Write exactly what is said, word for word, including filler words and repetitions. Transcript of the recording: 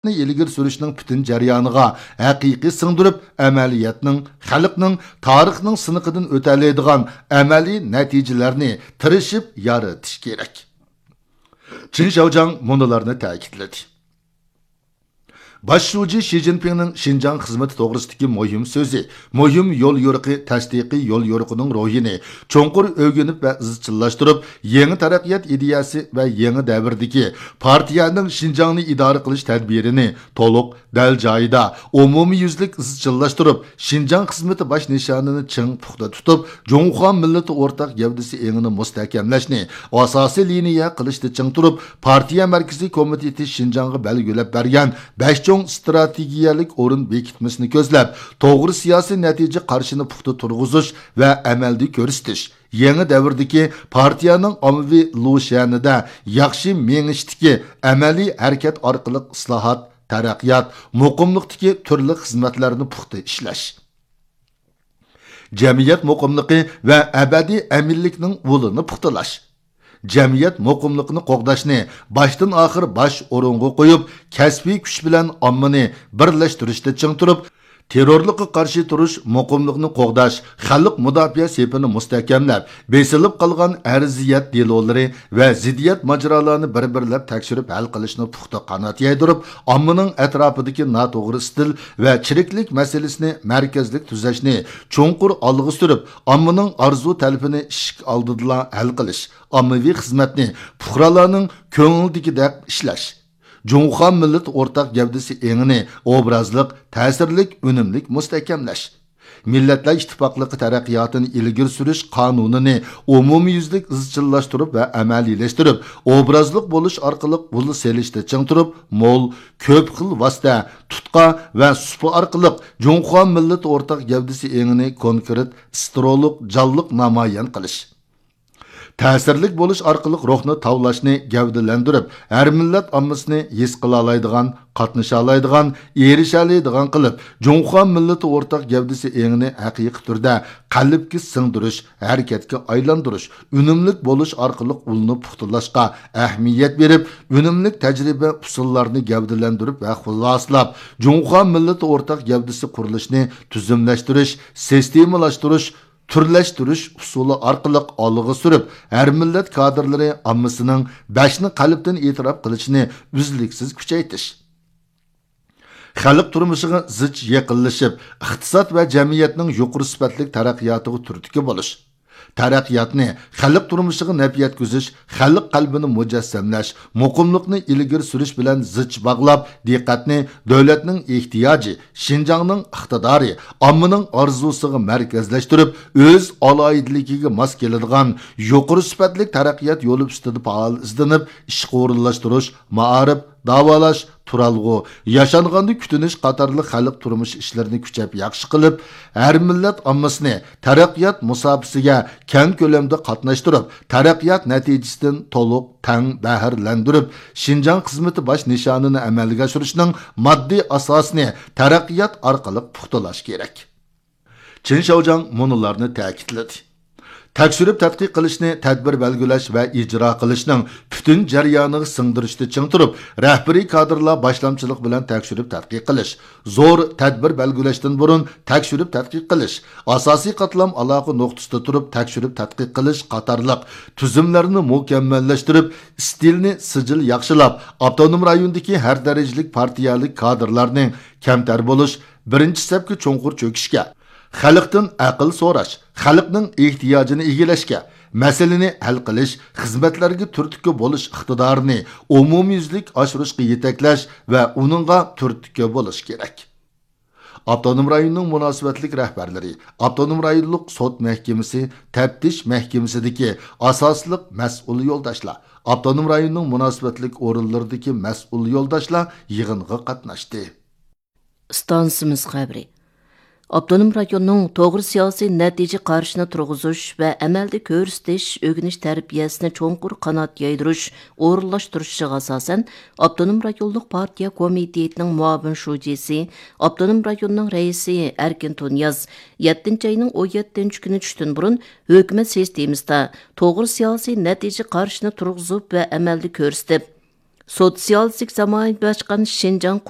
ئىلگىرى سۈرۈشنىڭ پۈتۈن جەريانىغا ھەقىقىي سىڭدۈرۈپ، ئەمەلىيەتنىڭ، خەلقنىڭ، تارىخنىڭ سىنىقىدىن ئۆتەلەيدىغان ئەمەلىي نەتىجىلەرنى تىرىشىپ يارىتىش كېرەك. چېن شياۋجياڭ مۇنۇلارنى تەكىتلىدى. باش شۇجى شى جىنپىڭنىڭ شىنجاڭ خىزمىتى توغرىسىدىكى مۇھىم سۆزى، مۇھىم يوليورۇقى تەستىقىي يوليورۇقىنىڭ روھىنى چوڭقۇر ئۆگىنىپ ۋە ئىزچىللاشتۇرۇپ، يېڭى تەرەققىيات ئىدىيەسى ۋە يېڭى دەۋردىكى پارتىيەنىڭ شىنجاڭنى ئىدارە قىلىش تەدبىرىنى تولۇق، دەل جايىدا، ئومۇميۈزلۈك ئىزچىللاشتۇرۇپ، شىنجاڭ خىزمىتى باش نىشانىنى چىڭ پۇختا تۇتۇپ، جۇڭخۇا مىللىتى ئورتاق گەۋدىسى ئېڭىنى مۇستەھكەملەشنى ئاساسىي لىنىيە قىلىشتا چىڭ تۇرۇپ، پارتىيە مەركىزىي كومىتېتى شىنجاڭغا بەلگىلەپ بەرگەن بەش چوڭ ئىستراتېگىيەلىك ئورۇن بېكىتمىسىنى كۆزلەپ، توغرا سىياسىي نەتىجە قارىشىنى پۇختا تۇرغۇزۇش ۋە ئەمەلدە كۆرسىتىش، يېڭى دەۋردىكى پارتىيەنىڭ ئاممىۋى لۇشيەنىدە ياخشى مېڭىشتىكى ئەمەلىي ھەرىكەت ئارقىلىق ئىسلاھات، تەرەققىيات، مۇقىملىقتىكى تۈرلۈك خىزمەتلەرنى پۇختا ئىشلەش. جەمئىيەت مۇقىملىقى ۋە ئەبەدىي ئەمىنلىكنىڭ ئۇلىنى پۇختىلاش. جەمئىيەت مۇقىملىقىنى قوغداشنى باشتىن ئاخىر باش ئورۇنغا قويۇپ، كەسپىي كۈچ بىلەن ئاممىنى بىرلەشتۈرۈشتە چىڭ تۇرۇپ، تېررورلۇققا قارشى تۇرۇش، مۇقىملىقنى قوغداش، خەلق مۇداپىئە سېپىنى مۇستەھكەملەپ، بېسىلىپ قالغان ئەرزىيەت دېلولىرى ۋە زىددىيەت ماجىرالارنى بىر-بىرلەپ تەكشۈرۈپ ھەل قىلىشنى پۇختا قانات يايدۇرۇپ، ئاممىنىڭ ئەتراپىدىكى ناتوغرا ئىستىل ۋە چىرىكلىك مەسىلىسىنى مەركەزلىك تۈزەشنى چوڭقۇر ئالغا سۈرۈپ، ئاممىنىڭ ئارزۇ تەلىپىنى ئىشىك ئالدىدىلا ھەل قىلىش، ئاممىۋى خىزمەتنى پۇقرالارنىڭ كۆڭلىدىكىدەك ئىشلەش، جۇڭخۇا مىللىتى ئورتاق گەۋدىسى ئېڭىنى ئوبرازلىق، تەسىرلىك، ئۈنۈملۈك مۇستەھكەملەش. مىللەتلەر ئىتتىپاقلىقى تەرەققىياتىنى ئىلگىرى سۈرۈش قانۇنىنى ئومۇميۈزلۈك ئىزچىللاشتۇرۇپ ۋە ئەمەلىيلەشتۈرۈپ، ئوبرازلىق بولۇش ئارقىلىق ئۇل سېلىشتا چىڭ تۇرۇپ، مول، كۆپ خىل ۋاسىتە، تۇتقا ۋە سۇپا ئارقىلىق جۇڭخۇا مىللىتى ئورتاق گەۋدىسى ئېڭىنى كونكرېت، سترولۇق، جانلىق نامايان قىلىش. تەسىرلىك بولۇش ئارقىلىق روھنى تاۋلاشنى گەۋدىلەندۈرۈپ، ھەر مىللەت ئاممىسىنى ھېس قىلالايدىغان، قاتنىشالايدىغان، ئېرىشەلەيدىغان قىلىپ، جۇڭخۇا مىللىتى ئورتاق گەۋدىسى ئېڭىنى ھەقىقىي تۈردە قەلبكە سىڭدۈرۈش، ھەرىكەتكە ئايلاندۇرۇش، ئۈنۈملۈك بولۇش ئارقىلىق ئۇلنى پۇختىلاشقا ئەھمىيەت بېرىپ، ئۈنۈملۈك تەجرىبە ئۇسۇللارنى گەۋدىلەندۈرۈپ ۋە خۇلاسىلاپ، جۇڭخۇا مىللىتى ئورتاق گەۋدىسى قۇرۇلۇشىنى تۈزۈملەشتۈرۈش، سىستېمىلاشتۇرۇش، تۈرلەشتۈرۈش ئۇسۇلى ئارقىلىق ئالغا سۈرۈپ، ھەر مىللەت كادىرلىرى ئاممىسىنىڭ بەشنى قەلبتىن ئېتىراپ قىلىشىنى ئۈزلۈكسىز كۈچەيتىش. خەلق تۇرمۇشىغا زىچ يېقىنلىشىپ، ئىقتىساد ۋە جەمئىيەتنىڭ يۇقىرى سۈپەتلىك تەرەققىياتىغا تۈرتكە بولۇش. تەرەققىياتنى خەلق تۇرمۇشىغا نەپ يەتكۈزۈش، خەلق قەلبىنى مۇجەسسەملەش، مۇقىملىقنى ئىلگىرى سۈرۈش بىلەن زىچ باغلاپ، دىققەتنى دۆلەتنىڭ ئېھتىياجى، شىنجاڭنىڭ ئىقتىدارى، ئاممىنىڭ ئارزۇسىغا مەركەزلەشتۈرۈپ، ئۆز ئالاھىدىلىكىگە ماس كېلىدىغان يۇقىرى سۈپەتلىك تەرەققىيات يولى ئۈستىدە پائال ئىزدىنىپ، ئىشقا ئورۇنلاشتۇرۇش، مائارىپ، داۋالاش، تۇرالغۇ، ياشانغاندا كۈتۈنۈش قاتارلىق خەلق تۇرمۇش ئىشلىرىنى كۈچەپ ياخشى قىلىپ، ھەر مىللەت ئاممىسىنى تەرەققىيات مۇساپىسىگە كەڭ كۆلەمدە قاتناشتۇرۇپ، تەرەققىيات نەتىجىسىدىن تولۇق، تەڭ بەھرىلەندۈرۈپ، شىنجاڭ خىزمىتى باش نىشانىنى ئەمەلگە ئاشۇرۇشنىڭ ماددىي ئاساسىنى تەرەققىيات ئارقىلىق پۇختىلاش كېرەك. چېن شياۋجياڭ مۇنۇلارنى تەكىتلىدى. تەكشۈرۈپ تەتقىق قىلىشنى تەدبىر بەلگىلەش ۋە ئىجرا قىلىشنىڭ پۈتۈن جەريانىغا سىڭدۈرۈشتە چىڭ تۇرۇپ، رەھبىرىي كادىرلار باشلامچىلىقى بىلەن تەكشۈرۈپ تەتقىق قىلىش، زور تەدبىر بەلگىلەشتىن بۇرۇن تەكشۈرۈپ تەتقىق قىلىش، ئاساسىي قاتلام ئالاقە نۇقتىسىدا تۇرۇپ تەكشۈرۈپ تەتقىق قىلىش قاتارلىق تۈزۈملەرنى مۇكەممەللەشتۈرۈپ، ئىستىلنى سىجىل ياخشىلاپ، ئاپتونوم رايوندىكى ھەر دەرىجىلىك پارتىيەلىك كادىرلارنى كەمتەر بولۇش، بىرىنچى سەپكە چوڭقۇر چۆكۈشكە، خەلقتىن ئەقىل سوراش، خەلقنىڭ ئېھتىياجىنى ئىگىلەشكە، مەسىلىنى ھەل قىلىش، خىزمەتلەرگە تۈرتكە بولۇش ئىقتىدارىنى ئومۇميۈزلۈك ئاشۇرۇشقا يېتەكلەش ۋە ئۇنىڭغا تۈرتكە بولۇش كېرەك. ئاپتونوم رايوننىڭ مۇناسىۋەتلىك رەھبەرلىرى، ئاپتونوم رايونلۇق سوت مەھكىمىسى، تەپتىش مەھكىمىسىدىكى ئاساسلىق مەسئۇل يولداشلار، ئاپتونوم رايوننىڭ مۇناسىۋەتلىك ئورۇنلىرىدىكى مەسئۇل يولداشلار يىغىنغا قاتناشتى. ئىستانسىمىز خەۋىرى. ئاپتونوم رايوننىڭ توغرا سىياسىي نەتىجە قارىشىنى تۇرغۇزۇش ۋە ئەمەلدە كۆرسىتىش، ئۆگىنىش تەربىيەسىنى چوڭقۇر قانات يايدۇرۇش، ئورۇنلاشتۇرۇشىغا ئاساسەن، ئاپتونوم رايونلۇق پارتىيە كومىتېتىنىڭ مۇئاۋىن شۇجىسى، ئاپتونوم رايوننىڭ رەئىسى ئەركىن تۇنىياز يەتتىنچى ئاينىڭ ئون يەتتىنچى كۈنى چۈشتىن بۇرۇن ھۆكۈمەت سىستېمىسىدا توغرا سىياسىي نەتىجە قارىشىنى تۇرغۇزۇپ ۋە ئەمەلدە كۆرسىتىپ، سوتسىيالىستىك زامانىۋىلاشقان شىنجاڭ قۇرۇش